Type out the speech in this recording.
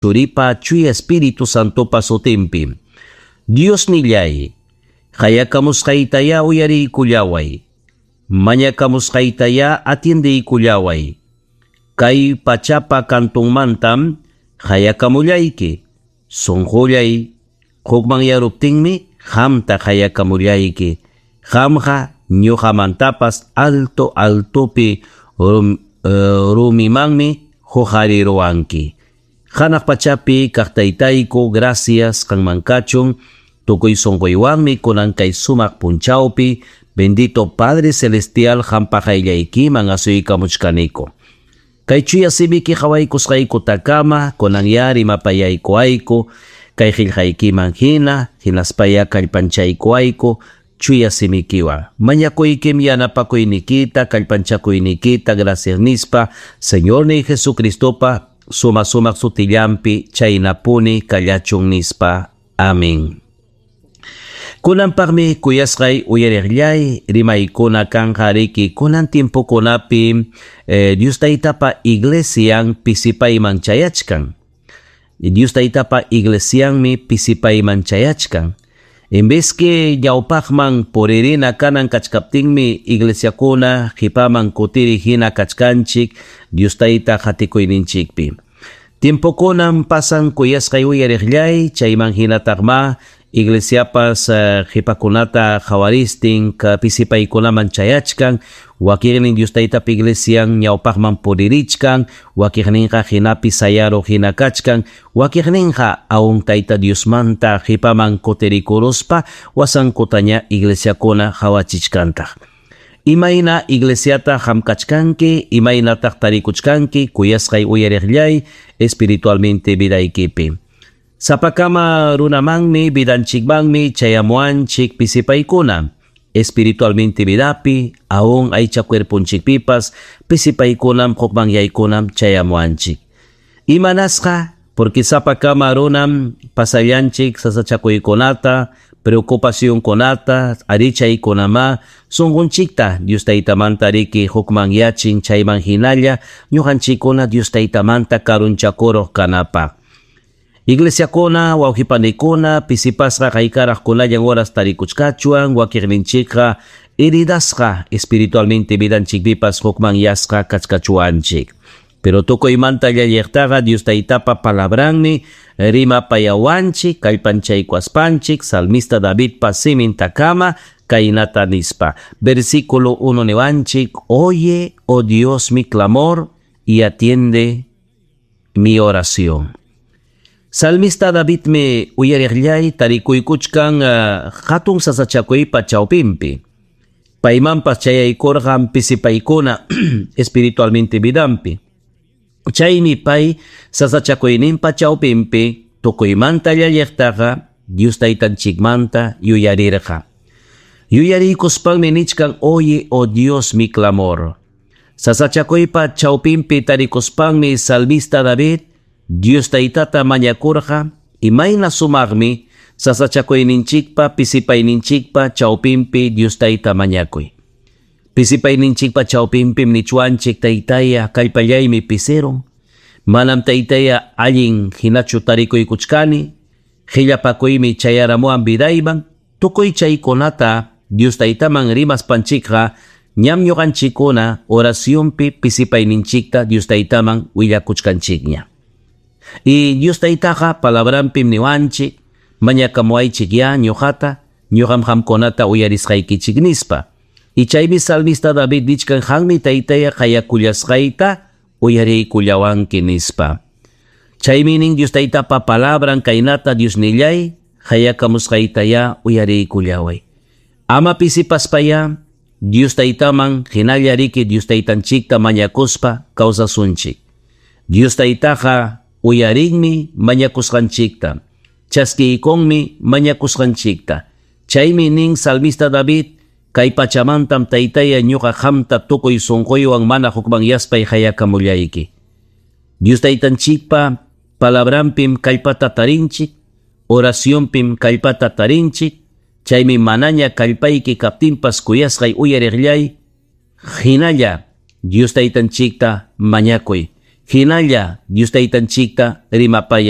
Churipa Chuya Espíritu Santopa sutinpi. Diosnilláy, qayakamusqaytayá uyariykullaway. Mañakamusqaytayá atiendeykullaway. Kay pachapa kantunmantam qayakamullayki. Sunqullay hukmanyaruptinmi qamta qayakamullayki. Qamqa ñuqamantapas alto altopi rumimanmi huqariruwanki. Hanaq pachapi kaq taytayku, gracias qanman kachun, tukuy sunquywanmi kunan kay sumaq punchawpi, bendito Padre Celestial qampa qayllaykiman asuykamuchkaniku. Kay chuya simiki qawaykusqaykutakama kunanyá rimapayaykuwayku, kay qillqaykiman hina, hinaspayá kallpanchaykuwayku, chuya simikiwan. Mañakuykim yanapakuynikita, kallpanchakuynikita, gracias nispa, Señorniy Jesucristopa suma sumaq sutillanpi chaynapuni kallachun nispa. Amén. Kunanpaqmi kuyasqay uyariqllay rimaykuna kanqa riki kunan tiempokunapi Dios Taytapa iglesian pisipayman chayachkan. Dios Taytapa iglesianmi pisipayman chayachkan. En vez que ñawpaqman puririna kanan kachkaptinmi iglesiakuna qipaman kutiri hina kachkanchik Dios Tayta qatikuyninchikpi. Tiempokunam pasan kuyasqay uyariqllay chayman hinataqma iglesiapas qipakunata qawaristin pisipaykunaman chayachkan, wakiqnin Dios Taytapa iglesian ñawpaqman puririchkan, wakiqninqa hinapi sayaruq hina kachkan, wakiqninqa aun Tayta Diosmanta qipaman kutirikuruspa wasankutaña iglesiakuna qawachichkantaq. Imayna iglesiata hamkachkanki, imaynataq tarikuchkanki kuyasqay uyariqllay espiritualmente vidaykipi. Sapakama runamanmi vidanchikmanmi chayamuanchik pisipaykuna. Espiritualmente vidapi, aún aycha cuerponchikpipas pisipaykunam hukmanyaykunam chayamuanchik. Imanasqa, porque sapakama runam pasallanchik sasachakuykunata, preocupacionkunata, arichaykunama, sunqunchikta Dios Taytamanta riki hukmanyachin chayman hinalla ñuqanchikkuna Dios Taytamanta karunchakuruq kanapaq. Iglesiakuna, wawqipanikuna, pisipasqa qaykaraqkunallan horas tarikuchkachuan, wakiqninchikqa heridasqa espiritualmente vidanchikpipas hukmanyasqa kachkachuanchik. Pero tukuymanta llalliqtaqa Dios Taytapa palabranmi rimapayawanchik, kallpanchaykuaspanchik, salmista Davidpa simintakama kaynata nispa. Versículo 1 niwanchik, oye, oh Dios, mi clamor y atiende mi oración. Salmista Davidmi uyariqllay tarikuykuchkan hatun sasachakuypa chawpinpi. Paymanpas chayaykurqan pisipaykuna espiritualmente vidanpi. Chaymi pay sasachakuyninpa chawpinpi tukuymanta llalliqtaqa Dios Taytanchikmanta yuyarirqa. Yuyariykuspanmi nichkan, oye, oh Dios, mi clamor. Sasachakuypa chawpinpi tarikuspanmi salmista David Dios Taytata mañakurqa, imayna sumaqmi sasachakuyninchikpa pisipayninchikpa chawpinpi Dios Tayta mañakuy. Pisipayninchikpa chawpinpim nichwanchik Taytaya kallpallaymi pisirun, manam Taytaya allin hinachu tarikuykuchkani, qillapakuymi chayaramuwan vidayman, tukuy chaykunata Dios Taytaman rimaspanchikqa ñam ñuqanchikkuna oracionpi pisipayninchikta Dios Taytaman willakuchkanchikña. Y Dios Taytaqa palabranpim niwanchik, mañakamuwaychik ya ñuqata, ñuqam qamkunata uyarisqaykichik nispa. Y chaymi salmista David nichkan qanmi Taytaya qayakullasqayta uyariykullawanki nispa. Chaymi nin Dios Taytapa palabran kaynata Diosnillay qayakamusqaytayá uyariykullaway. Ama pisipaspayá Dios Taytaman hinalla riki Dios Taytanchikta mañakuspa kawsasunchik. Dios Taytaqa uyarinmi mañakusqanchikta, chaskiykunmi mañakusqanchikta. Chaymi nin salmista David, kay pachamantam Taytaya ñuqa qamta tukuy sunquywan mana hukmanyaspay qayakamullayki. Dios Taytanchikpa palabranpim kallpata tarinchik, oracionpim kallpata tarinchik, chaymi manaña kallpayki kaptinpas kuyasqay uyariqllay, hinalla Dios Taytanchikta mañakuy. Hinalla Dios Taytanchikta rimapayay.